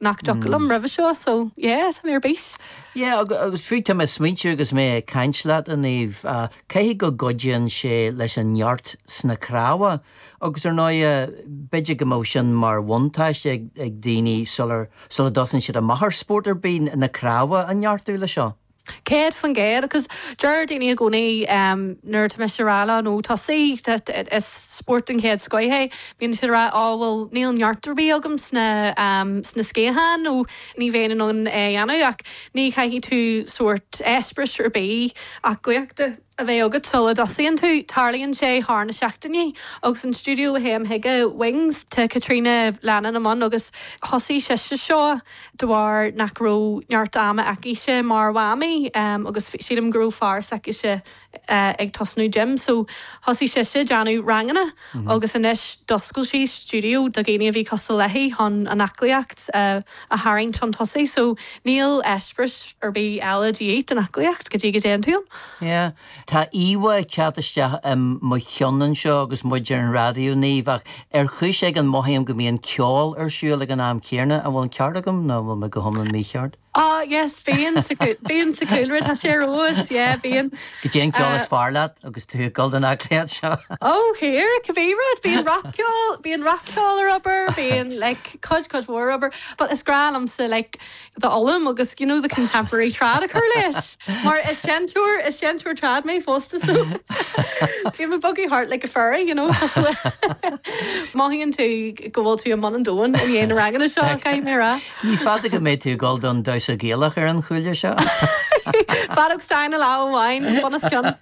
Nach dtiocfadh liom roimhe seo so yeah tá mé ar bís. Yeah agus fiú tá mé ag smaointiú agus mé ag caint leat a Niamh, caithfidh go gcuidíonn sé leis an neart sna cnámha agus ar ndóighe b'fhéidir go mbeadh sin mar bhuntáiste ag daoine sular sula dtosaíonn siad amach ar spórt ar bith, na cnámha a neartú leis seo. 100% agus deir daoine i gcónaí nuair atá mise ag rá leo nó tosaigh, is spórt den chéad scoith é, bíonn siad ag rá oh bhuel níl neart ar bith agam sna sna sciatháin nó ní bheinn in ann é a dhéanamh ach ní chaithfidh tú sórt eispéireas ar bith aclaíochta a bheith agat sula dtosaíonn tú. Tarlaíonn sé thar na seachtainí agus an stiúideo a théim chuige, Wings, tá Caitríona Lennon i mbun agus thosaigh sise seo de bharr nach raibh neart ama aicise mar mhamaí agus sílim go raibh fear s'aicise ag tosnú gym so thosaigh sise déanamh ranganna agus anois d'oscail sí stiúideo do dhaoine a bhí cosúil léi chun an aclaíocht a tharraingt chun tosaigh so níl eispéireas ar bith eile de dhíth don aclaíocht go dtí go dtéann tú ann. Yeah. Tá íomhá ag teacht isteach i mo cheann anseo agus muid ar an raidió, Niamh, ach ar chúis éigin mothaím go mbíonn ceol ar siúl ag an am céanna. An bhfuil an ceart agam nó an bhfuil mé go hiomlán mícheart? Oh yes, bíonn sa bíonn sa chúlra, tá sé ar fheabhas, yeah, bíonn. Goidé an ceol is fearr leat agus tú ag dul don aclaíocht seo? Oh here, cibé rud, bíonn rac-cheol, bíonn rac-cheol ar obair, bíonn like cuid cuid mhór ar obair, but is grá liomsa like d'fhoghlaim agus you know the contemporary trad a chur leis mar is seinnteoir is seinnteoir trad mé fosta so bím ag bogadh thart like a fairy you know cosúil le mothaíonn tú go bhfuil tú i mbun an domhain i ndiaidh na ranganna seo caithfidh mé a rá. Ní fada go mbeidh tú ag dul don damhsa Gaelach ar an chúile seo. Feadóg stáin i lámh amháin, bun os cionn.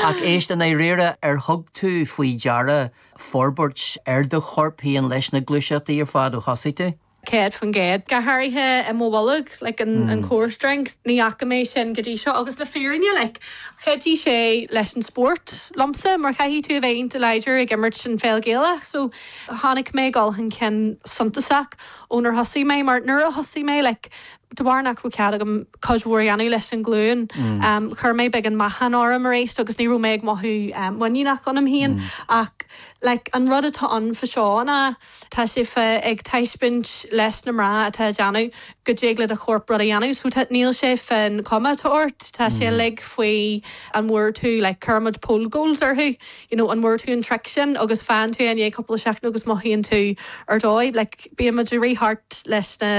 Ach éist, i ndáiríre, ar thug tú faoi deara forbairt ar do chorp féin leis na gluaiseachtaí ar fad ó thosaigh tú? 100%. Go háirithe i mo bholg, like an core strength, ní fhaca mé sin go dtí seo agus le fírinne like chuidigh sé leis an spórt liomsa mar caithfidh tú a bheith iontach láidir ag imirt an pheil Ghaelach so chonaic mé dul chun cinn suntasach ónar thosaigh mé mar nuair a thosaigh mé like de bharr nach raibh cead agam cuid mhór a dhéanamh leis an ghlúin chuir mé beagán meáchan orm arís agus ní raibh mé ag mothú muiníneach ionam féin ach like an rud atá ann fá seo ná Tá sé fá ag taispeáint leis na mná atá ag déanamh go dtig le do chorp rud a dhéanamh so tá níl sé fán chuma atá ort, tá sé uilig faoi an bhfuair tú like cuirimid pole goals orthu you know an bhfuair tú an trick sin agus faigheann tú é i ndiaidh cúpla seachtain agus mothaíonn tú ar dóigh like bímid ag rith thart leis na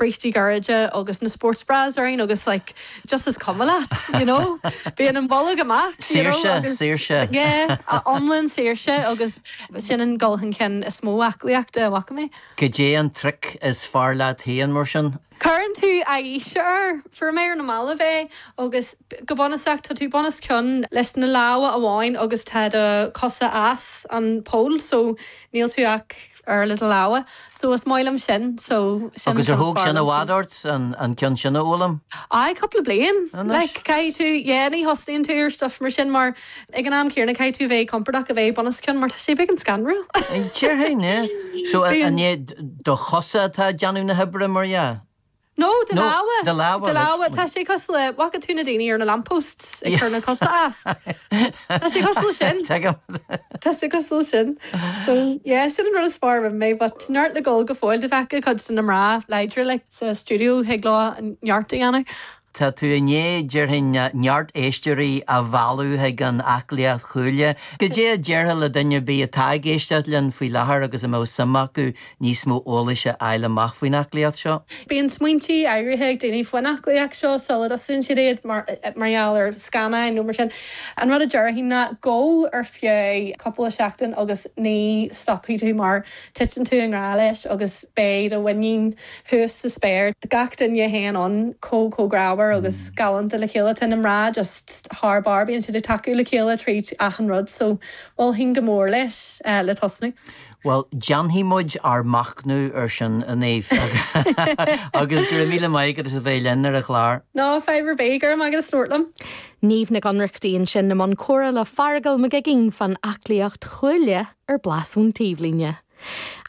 brístí gairide agus na sports bras orainn agus like just is cuma leat you know bíonn an bolg amach you know Saoirse, agus saoirse. yeah iomlán saoirse agus Sin an dul chun cinn is mó aclaíochta a bhfaca mé. Goidé an trick is fearr leat féin, mar sin? Cuireann tú aghaidh air. Fuair mé ar na mallaibh é agus go bunúsach tá tú bun os cionn leis na lámha amháin agus tá do chosa as an pole so níl tú ach ar le do lámha. So is maith liom sin. So sin an Agus ar ceann is thóg fearr sin i liom bhfad ort, an ceann sin a fhoghlaim? Aye, cúpla bliain. Anois. Like, caithfidh tú, yeah, ní thosnaíonn tú ar stuff mar sin mar ag an am céanna caithfidh tú bheith compordach a bheith bun os cionn mar tá sé beagán scanrúil. Déarfainn, yeah. So an é do chosa atá ag déanamh na hoibre mar dhea? No, do No, lámha. do lámha, Do lámha. Tá sé cosúil le, bhfaca tú na daoine ar na lampposts ag cur na cosa as? Tá sé cosúil le sin. Tuigim. Tá sé cosúil le sin. So, yeah, sin an rud is fearr a rinne mé, but neart le gabháil go fóill. Dá bhfeicfeá cuid de na mná láidre like sa stiúideo thig leo neart a dhéanamh. Tá tú i ndiaidh, déarfainn, neart éisteoirí a mhealladh chuig an aclaíocht chuaille. Goidé a déarfá le duine ar bith atá ag éisteacht linn faoi láthair agus a mbeadh suim acu níos mó eolais a fháil amach faoin aclaíocht seo? Bíonn smaointí áirithe ag daoine faoin aclaíocht seo sula dtosaíonn siad iad, mar gheall ar scannáin nó mar sin. An rud a déarfainn ná gabh ar feadh cúpla seachtain agus ní stopfaidh tú mar titeann tú i ngrá leis agus beidh do mhuinín thuas sa spéir. Gach duine a théann ann chomh chomh grámhar agus galánta le chéile. Tá na mná just thar barr, bíonn siad ag tacú le chéile tríd achan rud so mholfainn go mór leis le tosnú. Bhuel, déanfaidh muid ár machnamh ar sin, a Niamh, agus go raibh míle maith agat as a bheith linn ar an chlár. Ná fadhb ar bith, go raibh maith agat as labhairt liom. Niamh Nic Ionnrachtaigh ansin i mbun comhrá le Feargal Mac Uiginn fán aclaíocht chuaille ar Blas ón Taobhlíne.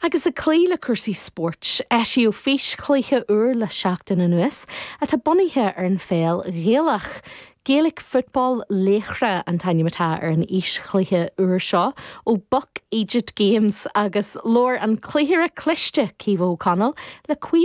Agus ag cloí le cúrsaí spóirt, eisíodh físchluiche úr le seachtain anuas atá bunaithe ar an pheil Ghaelach. Gaelic Football Laochra an t-ainm atá ar an fhíschluiche úr seo ó Buck Eejit Games agus labhair an cluichire cliste Caoimhe O'Connell le Caoimhe.